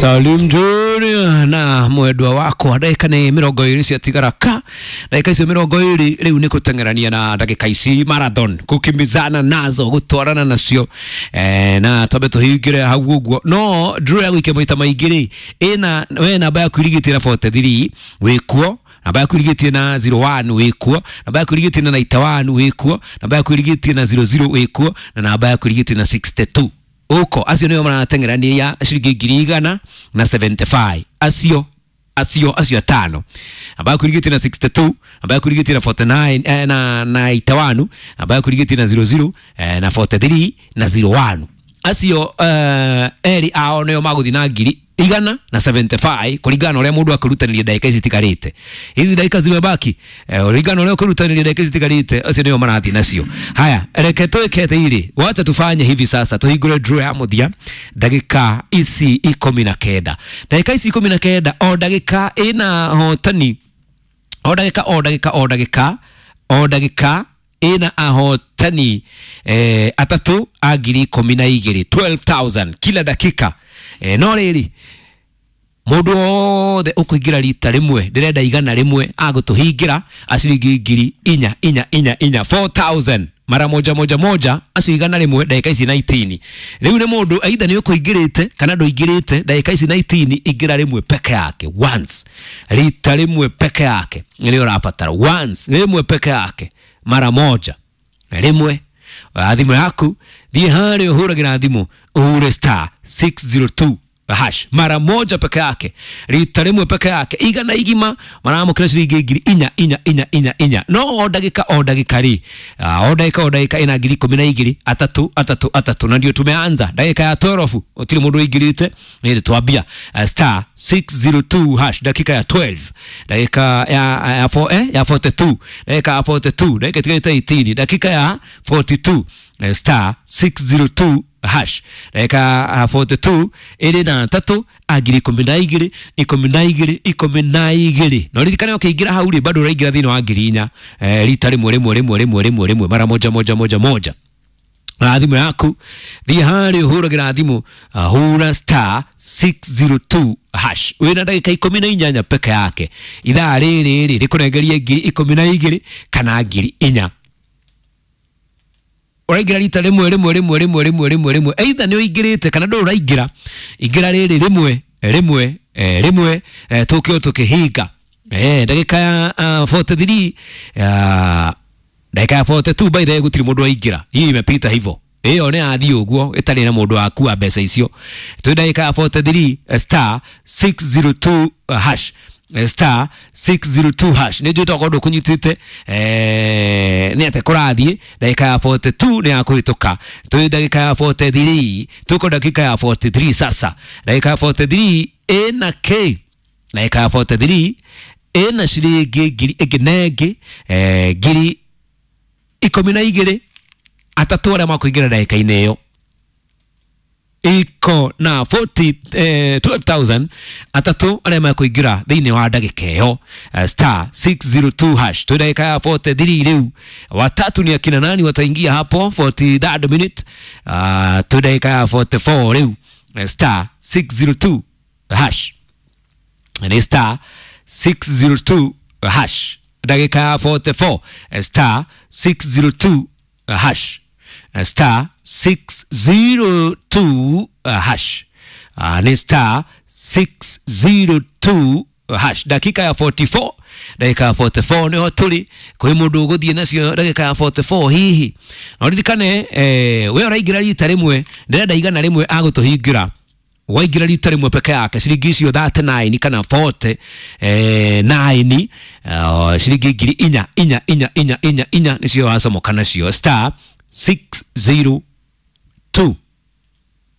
Salim Junior na mwendwa wakwa ndagika nä mä rongo ä rä ciatigara ka ndagika icio mä rongo ä rä rä u nä kå teng'erania na ndagika ici marathon kukimbizana nazo gutwarana nacio na twambe tũhingĩre hau ũguo no draw ya gũikia maita maingĩ rĩ ĩna we namba yaku irigĩtie na 43 wĩkuo, namba yaku irigĩtie na 01 wĩkuo, namba yaku irigĩtie na 91 wĩkuo, namba yaku irigĩtie na 00 wĩkuo, na namba yaku irigĩtie na 62 uko. Acio nĩo marateng'erania ciringi 100,075 acio atano. Namba yaku irigĩtie na 62, namba yaku irigĩtie na 49 na 91, namba yaku irigĩtie na 00 na 43 na 01. Acio eri ao nĩo magũthiĩ na 175 kũringana na ũrĩa mũndũ akũrutanĩria ndagĩka ici itigarĩte. Hizi ndagĩka zimebaki kũringana na ũrĩa ũkũrutanĩria ndagĩka ici itigarĩte, acio nĩo marathiĩ nacio. Haya, reke twĩke atĩrĩrĩ, wacha tufanye hivi sasa, tũhingũre draw ya mũthia ndagĩka ici 19, ndagĩka ici 19, o ndagĩka ĩna hotani, o ndagĩka o ndagĩka o ndagĩka o ndagĩka ĩna ahotani atatũ a 12,000, 12,000 kila dakika. No rĩrĩ, mũndũ wothe ũkũingĩra rita rĩmwe ndĩrenda 100 agũtũhingĩra aciringi 4,000 4 4 4 4,000 mara moja moja moja, acio 100 ndagĩka ici 19. Rĩu nĩ mũndũ aitha nĩ ũkũingĩrĩte kana ndũingĩrĩte ndagĩka ici 19, ingĩra rĩmwe peke yake, once, rita rĩmwe peke yake nĩrĩo ũrabatara, once, rĩmwe peke yake, mara moja, rĩmwe. Thimũ yaku thiĩ harĩa ũhũragĩra thimũ ũhure star 602 hash mara moja peke yake, rita rĩmwe peke yake, igana igima maramũkĩra ciringi 4,000 4 4 4 4. No o ndagĩka o ndagĩka rĩ, o ndagĩka o ndagĩka ĩna 12,000 atatu atatu atatu, na ndio tumeanza ndagĩka ya 12, gũtirĩ mũndũ ũingĩrĩte, nĩ twambia star 602 hash dakika ya 12, dakika ya 4 ya 42, dakika ya 42, dakika itigarĩte 18, dakika ya 42, star 602 hash dakika ya 42 ĩrĩ na atatũ a 12,000 12 12. Na ũririkane ũkĩingĩra hau rĩ, bado ũraingĩra thĩinĩ wa 4,000 rita rĩmwe rĩmwe rĩmwe rĩmwe rĩmwe rĩmwe mara moja moja moja moja. Na thimũ yaku thiĩ harĩa ũhũragĩra thimũ, hũra star 602 hash wĩna ndagĩka 18 peke yake. Ithaa rĩrĩ rĩ rĩkũnengerie 12,000 kana 4,000. Ũraingĩra rita rĩmwe rĩmwe rĩmwe rĩmwe rĩmwe rĩmwe rĩmwe, either nĩ ũingĩrĩte kana ndũrĩ ũraingĩra, ingĩra rĩrĩ rĩmwe rĩmwe rĩmwe, tũkĩo tũkĩhinga ndagĩka ya 43, ndagĩka ya 42. By the way, gũtirĩ mũndũ waingĩra, hii imepita hivyo, ĩyo nĩ yathiĩ ũguo ĩtarĩ na mũndũ wakua mbeca icio. Twĩ ndagĩka ya 43, star 602 hash, star 602 hash. Nĩ njũĩ tokorwo ndũkũnyitĩte nĩ atĩ kũrathiĩ ndagĩka ya 42 nĩ ya kũhĩtũka, twĩ ndagĩka ya 43, tuko dakika ya 43 sasa. Ndagĩka ya 43 ĩna k, ndagĩka ya 43 ĩna ciringi ngiri ĩngĩ na ĩngĩ 12,000 atatũ arĩa makũingĩra ndagĩka-inĩ ĩyo iko na 40 12,000 atatũ arĩa makũingĩra thĩinĩ wa ndagĩka ĩyo, star 602 hash. Twĩ ndagĩka ya 43 rĩu, watatu ni akina nani wataingia hapo 43rd minute? Twĩ ndagĩka ya 44 rĩu, star 602 hash, nĩ star 602 hash, ndagĩka ya 44, star 602 hash, star 602 hash, ni star 602 hash, dakika ya 44, ndagĩka ya 44 nĩho tũrĩ. Kwĩ mũndũ ũgũthiĩ nacio ndagĩka ya 44 hihi? Na ũririkane we ũraingĩra rita rĩmwe, ndĩrenda 100 agũtũhingĩra. Waingĩra rita rĩmwe peke yake ciringi icio 39 kana 49, ciringi 4,000 4 4 4 4 4 nĩcio wacomoka nacio, star 602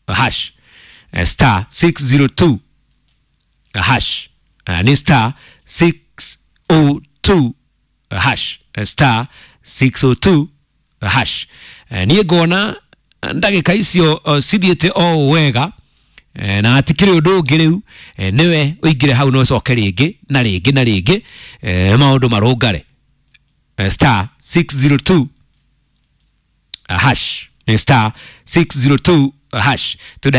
hash, star 602 hash, ni star 602 hash, star 602 hash. Niĩ ngona ndagĩka icio cithiĩte o wega, na hatikĩrĩ ũndũ ũngĩ rĩu, nĩwe ũingĩre hau na ũcoke rĩngĩ na rĩngĩ na rĩngĩ, maũndũ marũngare. Star 602 hash, star 602 hash.